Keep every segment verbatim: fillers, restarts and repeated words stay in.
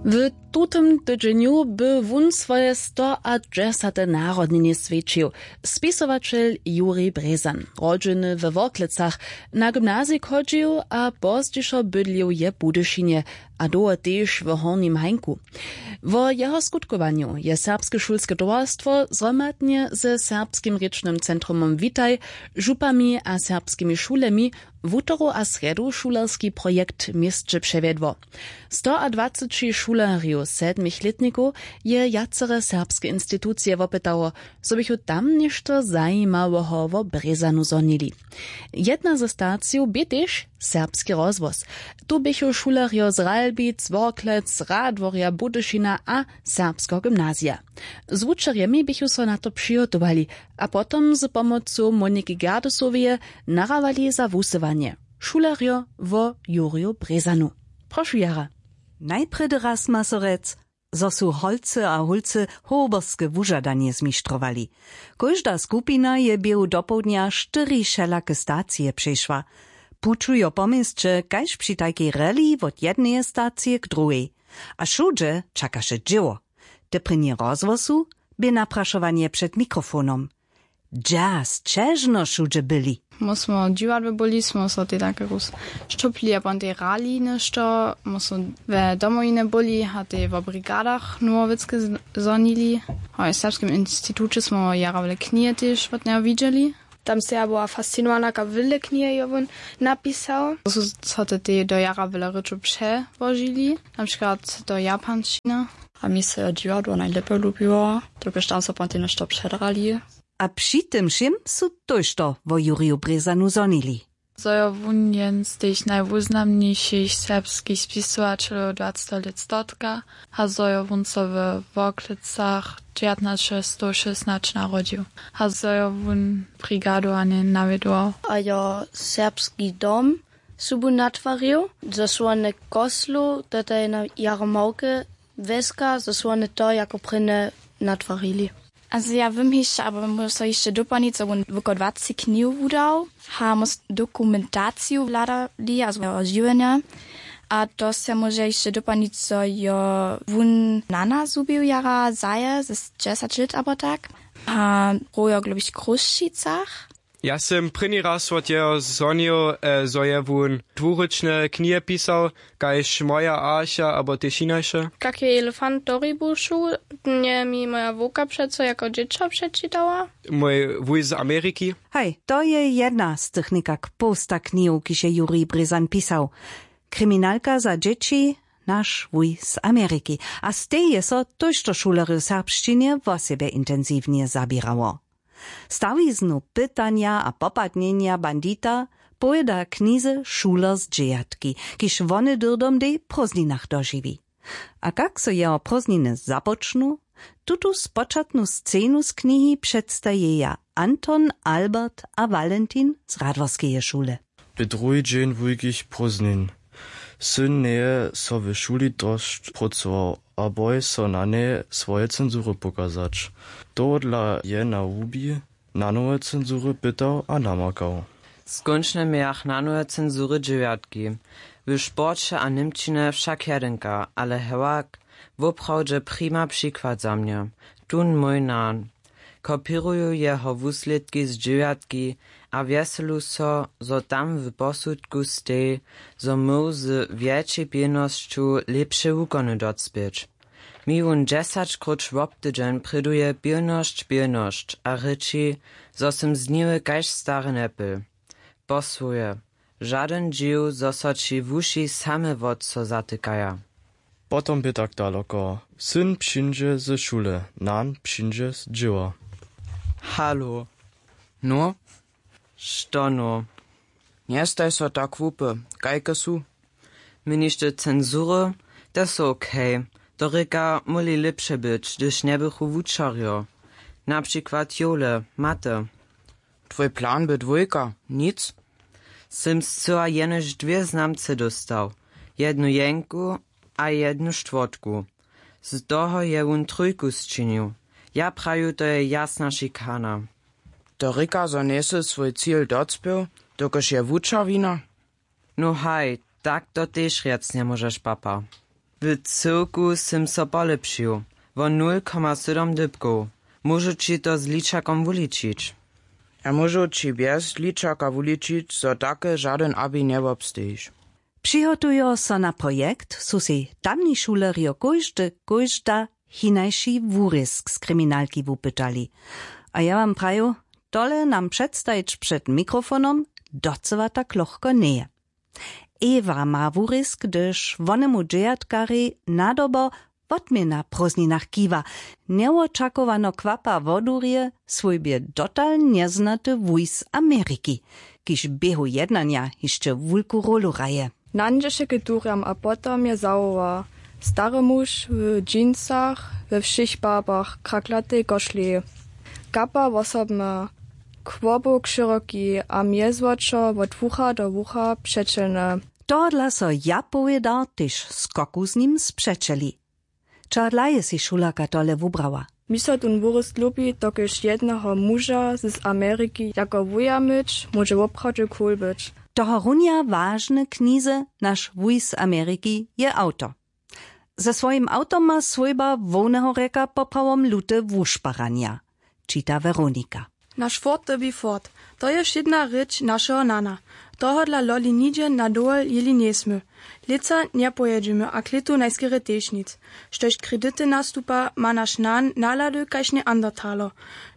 W tutym tydźenju by wón swoje stoadźesate narodniny swjećił. Spisowaćel Jurij Brězan, rodźeny we Worklecach, na gymnazij chodźił a pozdźišo bydlił je w Budyšinje a dołho tež w Hornim Hańku. Wo jeho skutkowanju je Serbske šulske towarstwo zhromadnje ze Serbskim rěčnym centrumom Witaj, župami a serbskimi šulemi wutoru a srjedu šulerski projekt w měsće přewjedło. Stoadwaceći šulerjow sedmich lětnikow je wjacere serbske institucije wopytało, zo běchu tam něšto zajimaweho wo Brězanu zhonili. Jedna ze stacijow bě tež Serbski rozhłos. Tu běchu šulerjo z Ralbic, Worklec, Radworja, Budyšina a Serbskeho gymnazija. Z wučerjemi běchu so na to přihotowali a potom z pomocu Moniki Gerdesoweje narawali za wusyłanje. Šulerjo wo Jurju Brězanu. Prošu jara. Najprjedy raz ma so rjec, zo su holcy a hólcy hoberske wužadanje zmištrowali. Kóžda skupina je běhu dopołdnja štyri wšelake stacije přešła. Pućujo po měsće kaž při tajkej reli wot jedneje stacije k druhej. A wšudźe čakaše dźěło. Te prěnje rozhłosu bě naprašowanje před mikrofonom. Dźa sćežno wšudźe byli. My smo w dźiwadle byli, smo so tej tak jakož šćoplili a pon tej hrali něšto, my smo we domowinje byli a tej wo brigadach nowowěcke z- zhonili. A w serbskim instituće smo jara wjele knihe tež wot njeho widźeli. Tam se ja była fascinowana, kak wjele knihe jo wón napisał. Su so te tej do jara wjele rěčow přełožili, na přikład do japanšćiny. A mi so jo dźiwadło najlěpje lubiło, dokelž tam so pon tej něšto předrali. A při tym wšěm su tójšto wo Juriju Brězanu zhonili. Zo jo wón jen z tych najwuznamnišich serbskich spisowaćelow dwaceteho lět stotka a zo jo wón so we Worklecach dźewjatnaće stow šěsnaće narodźił a zo jo wón brigadu a njen nawjedował. A jo serbski dom sobu natwarił, zo su wone koslu, to je na jaromałke wjeska, zo su wone to jako prěnje natwarili. A zo ja wěm hišće, abo móžu so hišće doplnić, zo wón woko dwaceći knihow wudał, a móžu dokumentaciju hladali a swojeho žiwjenja. A to se móže hišće doplnić, zo jo wón nana zhubił jara zaje z dźesać lět abo tak, a rojo w Chrósćicach. Ja sym prěni raz wot jeho zhonił, zo je wón dwurěčne knihe pisał, kaž Moja archa abo tež hinaše. Kak je elefant do hribu šuł, nje mi moja wowka přeco jako dźěćo přečitała. Mój wuj z Ameriki. Haj, to je jedna z tych někak połsta knihow, kiž je Jurij Brězan pisał. Kriminalka za dźěći, naš wuj z Ameriki. A z tej je so tójšto šulerjow serbšćinje wosebje intensiwnje zaběrało. Stawiznu pytanja a popadnjenja bandita powěda knize šuler z dźewjatki, kiž wone dyrdom w dej prózdninach dožiwi. A kak so jeho prózdniny započnu, tutu spočatnu scenu z knihi předstajeja Anton, Albert a Walentin z Radworskeje šule. Bě druhi dźeń wulkich prózdnin. Syn njeje so w šuli dosć prócował a boj so na njeje swoje cenzury pokazać. Tohodla je na łubi nanowe cenzury pytał a namakał. Skónčnje mějach nanowe cenzury dźewjatki, w sporće a němčinje wšak jedynka, ale hewak woprawdźe prima přikład za mnje. Tón mój nan. Kopěruju jeho wuslědki z dźewjatki a wjeselu so, zo tam w posudku steji, zo móhł z wjetšej pilnosću lěpše wukony docpěć. Mi wón dźesaćkróć wobtydźeń prěduje pilnosć, pilnosć a rěči, zo sym zniwy kaž stary njepyl. Posłuhuje, žadyn dźiw, zo so ći wuši same wot so zatykaja. Potom bě tak daloko. Syn přińdźe ze šule, nan přińdźe z dźěła. Halo. No? Što no? Njestaj so tak hłupy, kajke su? Měniš ty cenzury? Te su okej. To rěka, móhli lěpše być, hdyž njebychu wučerjo. Na přikład jowle, maty. Twój plan bě dwójka, nic? Sym scyła jenož dwě znamce dóstał, jednu jenku a jednu štwórtku. Z toho je wón trójku sčinił. Ja praju, to je jasna šikana. To rěka, zo njejsy swój cil docpěł, dokelž je wučerjina? No haj, tak to tež rjec njemóžeš, papa. W cyłku sym so polepšił wo nul koma sydom dypkow. Móžu ći to z ličakom wuličić? Ja móžu ći bjez ličaka wuličić, zo take žadyn abi njewobstejiš. Přihotujo so na projekt, su sej tamni šulerjo kóždy kóžda hinajši wurězk z kriminalki wupytali. A ja wam praju, tole nam předstajić před mikrofonom docyła tak lochko njeje. Ewa ma wurězk, hdyž wonemu dźejatkarjej nadobo wotměna w prózdninach kiwa, njewočakowano kwapa wodurje swójbje dotal njeznaty wuj z ameriki, kiž w běhu jednanja hišće wulku rólu hraje. Nańdźeše k durjam a potom je zawoła: Stary muž w džínsach, we wšěch barbach kraklatej košli, kapa wosobna, kłobuk šyroki a mjezwočo wot wucha do wucha přećelny. Tohodla so ja powědar tež skoku z nim spřećeli. Čehodla je sej šulerka tole wubrała? Mi so tón wurězk lubi, dokelž jedneho muža z ameriki jako wuja myć móže woprawdźe cool być. Tohorunja wažne knize naš wuj z ameriki je awto. Ze swojim awtom ma swójba hłowneho rjeka poprawom lute wušparanja, čita Weronika. Naš ford dyrbi ford, to je wšědna rěč našeho nana. Tohodla loli nihdźe na dowol jěli njejsmy. Lětsa njepojědźemy a k lětu najskerje tež nic. Štož kredity nastupa, ma naš nan nahlady kaž neandertaler.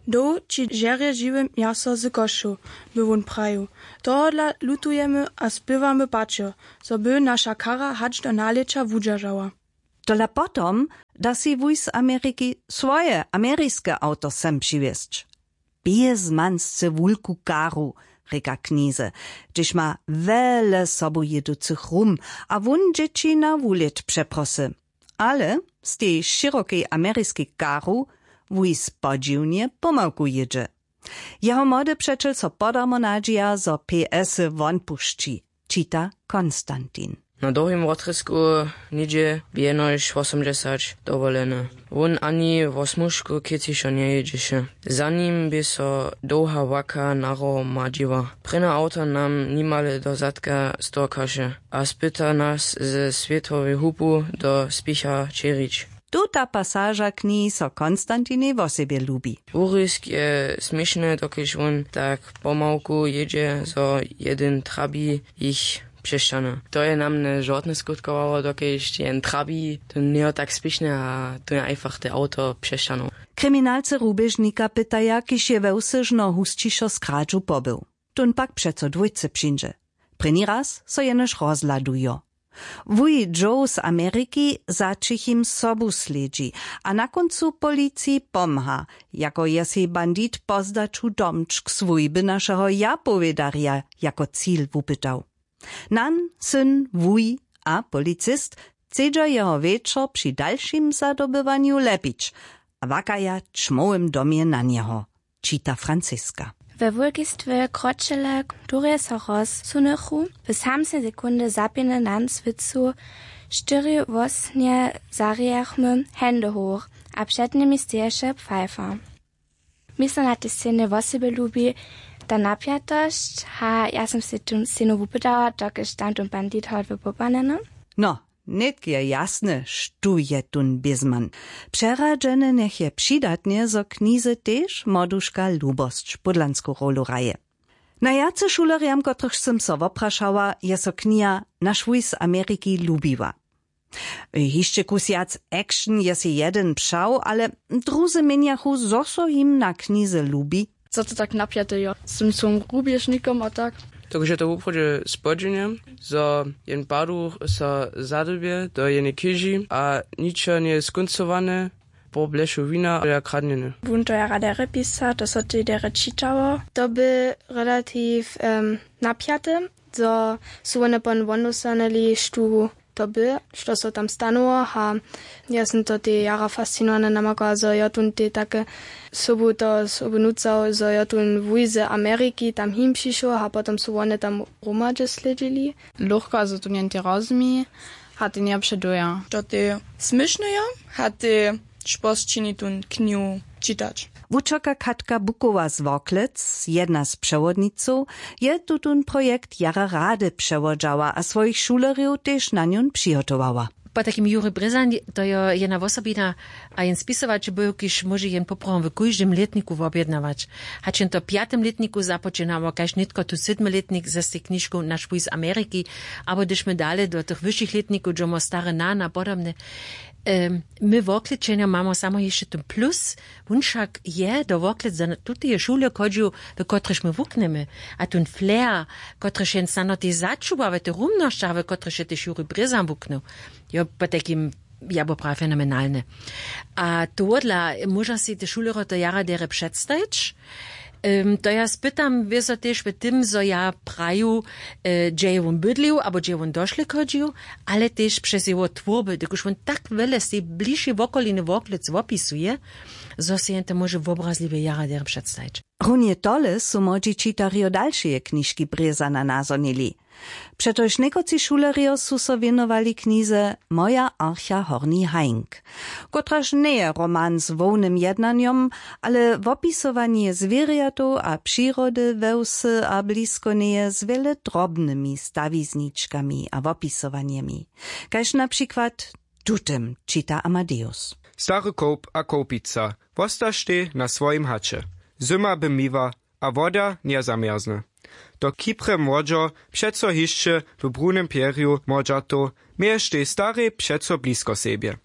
Dołh ći žerje žiwe mjaso z košćow, by wón prajił. Tohodla lutujemy a spěwamy pačer, zo by naša kara hač do nalěća wudźeržała. Tola potom da sej wuj z ameriki swoje ameriske awto sem přiwjesć. Bězman sće wulku karu, rěka knize, hdyž ma wjele sobujěducych rum a wón dźěći na wulět přeprosy. Ale z tej šěrokej ameriskej karu wuj spodźiwnje pomałku jědźe. Jeho młody přećel so podarmo nadźija, zo ps won pušći, čita konstantin. Na dołhim wotrězku něhdźe bě jenož wosomdźesać dowolene. Wón ani wo smužku kěcišo njejědźeše. Za nim bě so dołha łaka nahromadźiła. Prěnje awto nam nimale do zadka storkaše a spyta nas ze swětowej hupu do spěcha ćěrić. Tuta pasaža knihi so konstantinej wosebje lubi. Wurězk je směšny, dokelž wón tak pomałku jědźe, zo jedyn trabi jich přešćahny. To je na mnje žortne skutkowało, dokelž jen trabi, to njejo tak spěšne a to je einfach te awto přešćahnył. Kriminalcy ruběžnika pytaja, kiž je wewsyžno husćišo z kradźu pobył. Tón pak přeco dwójce přińdźe. Prěni raz so jenož rozhladujo. Wuj joe z ameriki za ćichim sobu slědźi a na kóncu policiji pomha, jako je sej bandit po zdaću domčk swójby našeho ja powědarja jako cil wupytał. Nan, syn, wuj a policist chcedźa jeho wječor při dalšim zadobywanju lepić a łakaja w ćmołym domje na njeho, čita franciska. We wulkistwje kročele, durje so rozsunychu, w samsnej sekundy zapěny nan swěcu štyri wosnje zarějachmy händy hoch a před nimi steješe pfeifer. Mi so na tej scenje wosebje lubi ta napjatosć a ja sym sej tu scenu wupytała, dokelž tam tón bandit hodły popanjeny. No, nětk je jasne, štó je tón bězman. Přeradźene njech je přidatnje, zo knize tež młoduška lubosć pódlansku rolu hraje. Najwjace šulerjam, kotrychž sym so woprašała, je so kniha naš wuj z ameriki lubiła. Hišće kus wjac action je sej jedyn přał, ale druzy měnjachu, zo so jim na knize lubi. Zo to tak napjate jo, z tym swojim rubježnikom a tak. Dokelž je to woprawdźe spodźiwne, zo jen paduch so zadybje do jenej chěži a ničo njeje skóncowane, po blešu wina a kradnjene. Wón to ja rady rěpisa, to so tej derje čitało. To by relatiw napjate, zo su wone pon wonostanyli štó to by, što so tam stanuło a ja sym to tej jara fascinowany namaka, zo jo tón tej take sobu to sobu nucał, zo jo tón wuj z ameriki tam him přišoł a potom su wone tam hromadźe slědźili. Lochka zo tón jen tej rozmi a tej njejo předoja, to tej směšnejo a tej šposćini tón knihu čitać. Wučerka katka bukowa z worklec, jedna z přewodnicow, je tutón projekt jara rady přewodźała a swojich šulerjow tež na njón přihotowała. Potajkim juri brězan, to jo jedna wosobina, a jen spisowaćel był, kiž móže jen poprawom w kóždym lětniku wobjednawać. Hač jen to w pjatym lětniku započinamo, kaž nětko tu sydmy lětnik ze stej knižku naš wuj z ameriki, abo hdyž my dale do tych wyšich lětnikow dźomo stare nan a podobne. My woklećenjo mamo samo hišće ten plus. Wón wšak je do woklec za tuteje šule chodźił, w kotryž my wuknjemy, a tón flair, kotryž jen snano tež začuwa w tych rumnosćach, w kotryž je tež juri brězan wuknył, jo potajkim, ja bo prawa fenomenalny. A tohodla móža sej te šulerjo to jara derje předstajić. To ja spytam wězo tež w tym, zo ja praju, hdźe je wón bydlił abo hdźe je wón došle chodźił, ale tež přez jeho twórby, dokelž wón tak wjele z tej bližšej wokoliny woklec wopisuje, zo sej jen to móže wobrazliwje jara derje předstajić. Runje tole su młodźi čitarjo dalšeje knižki brězana nazhonili. Přetož někotři šulerjo su so wěnowali knize moja archa horni hajnk, kotraž njeje roman z hłownym jednanjom, ale wopisowanje zwěrjatow a přirody we wsy a blisko njeje z wjele drobnymi stawizničkami a wopisowanjemi, kaž na přikład w tutym čita amadeus. Stary kołp a kołpica wostaštej na swojim haće. Zyma by miła a woda njezamjerzny. To kiprje młodźo přeco hišće w brunym pjerju młodźatow, měještej starej přeco blisko sebje.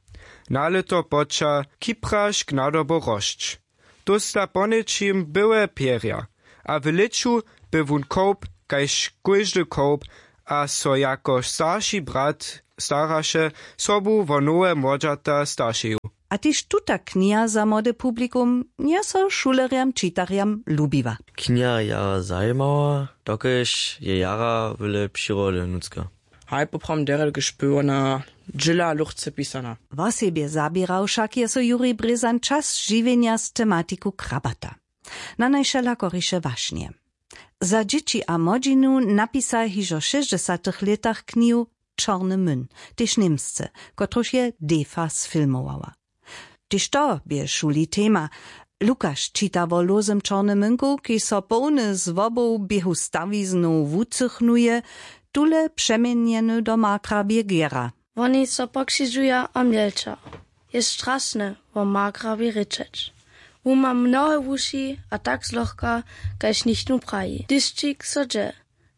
Na lěto poča kiprašk nadobo rosć. Dósta poněčim byłe pjerja, a w lěću by wón kołp kaž kóždy kołp, a so jako starši brat staraše sobu wo nowe młodźata staršeju. A tež tuta kniha za młode publikum nje so šulerjam čitarjam lubiła. Kniha jara zajimała, dokelž je jara wjele přirody nutřka. Haj poprawom derje dokelž by wona dźěla luchce pisana. Wosebje zaběrał wšak je so juri brězan čas žiwjenja z tematiku krabata na najwšelakoriše wašnje. Za dźěći a młodźinu napisa hižo w šěsćdźesatych lětach knihu čorny myn, tež němsce, kotruž je defa sfilmowała. Tež to bě w šuli tema. Lukaš čita wo lózym čornym mynku, kiž so połny złobow běhu stawiznow wucychnuje, tule přeměnjeny do markrabje gera. Woni so pokřižuja a mjelča. Je strasne wo markrabje rěčeć. Wón ma mnohe wuši a tak zlochka, kaž nichtó praji dyšćik so dźe.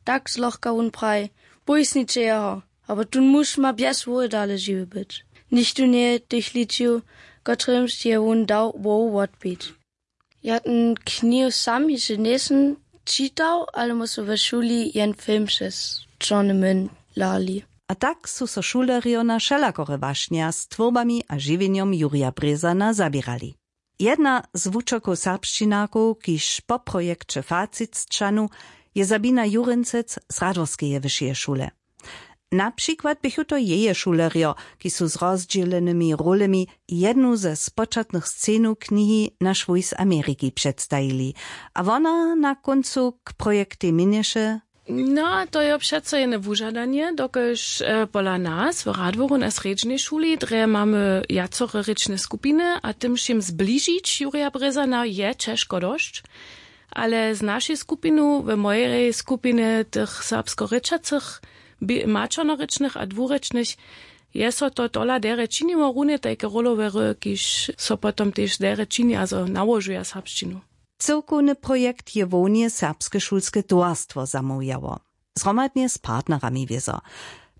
Tak zlochka wón praji: Pójsniće jeho, abo tón muž ma bjez hłowy dale žiwy być. Nichtó njeje tych ličił, kotrymž je wón dał hłowu wotpić. Ja ten knihu sam hišće njejsym čitał, ale mósu we šuli jen film přez čorny myn hlali. A tak su so šulerjo na wšelakore wašnja z twórbami a žiwjenjom jurja brězana zaběrali. Jedna z wučerkow serbšćinarkow, kiž po projekće facit sćanu, je sabina jurincec z radworskeje wyšeje šule. Na přikład běchu to jeje šulerjo, kiž su z rozdźělenymi rolemi jednu ze spočatnych scenow knihi naš wuj z ameriki předstajili, a wona na kóncu k projektej měnješe: No, to jo přeco jene wužadanje, dokelž pola nas w radworun a srjedźnej šuli drje mamy wjacore rěčne skupiny a tym wšěm zbližić jurja brězana je ćežko dosć. Ale z našej skupinu w mojerej skupiny tych serbskorěčacych, maćernorěčnych a dwurěčnych, je so to tola derje činiło runje tajke rolowe hry kiž so potom tež derje čini a zo nałožuja serbšćinu. Cyłkowny projekt je hłownje serbske šulske towarstwo zamołwjało, zhromadnje z partnerami wězo.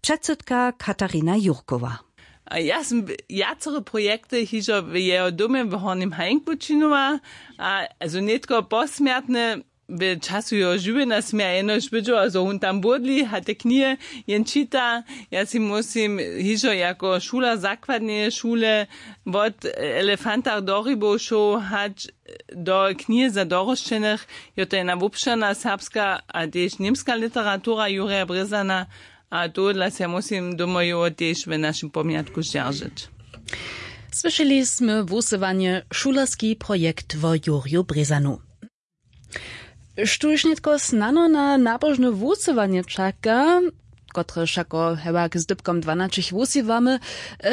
Předsydka katarina jurkowa. A ja sym wjacore projekty hižo w jeho domje w hornim hajnku činowała, a zo nětko posmjertne w času jeho žiwjenja sym ja jenož wydźała zo wón tam błódli a te knihe jen čita. Ja sej musym hižo jako šuler zakładneje šule wot elefantach do rybow šoł hač do knihe za dorosćenych. Jo to jedna wobšěrna serbska a tež němska literatura jurja brězana. A tohodla sej ja musym domojowo tež w našim pomjatku zdźeržeć. Słyšeli smy wusyłanje šulerski projekt wo jurju brězanu. Štóž nětko snano na nabožne wusyłanje čaka? kotrež wšako hewak z dypkom dwanaćich wusiwamy.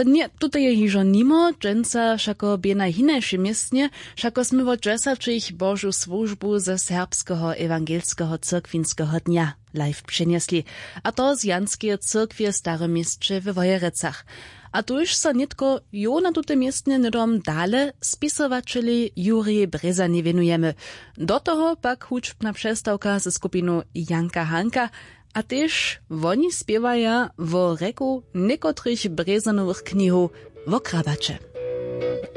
Ně, tute je hižo nimo dźensa wšako bě na hinašej městnje. Wšako smy wot dźesaćich božu słužbu ze serbskeho ewangelskeho cyrkwinskeho dnja live přenjesli, a to z janskeje cyrkwje w starym měsće we wojerecach. A tuž so nětko jo na tute městnje hnydom dale spisowaćelej jurjej brězani wěnujemy. Do toho pak hudźbna přestawka ze skupinu janka hanka. A tež woni spěwaja wo rjeku někotrych brězanowych knihow wo krabaće.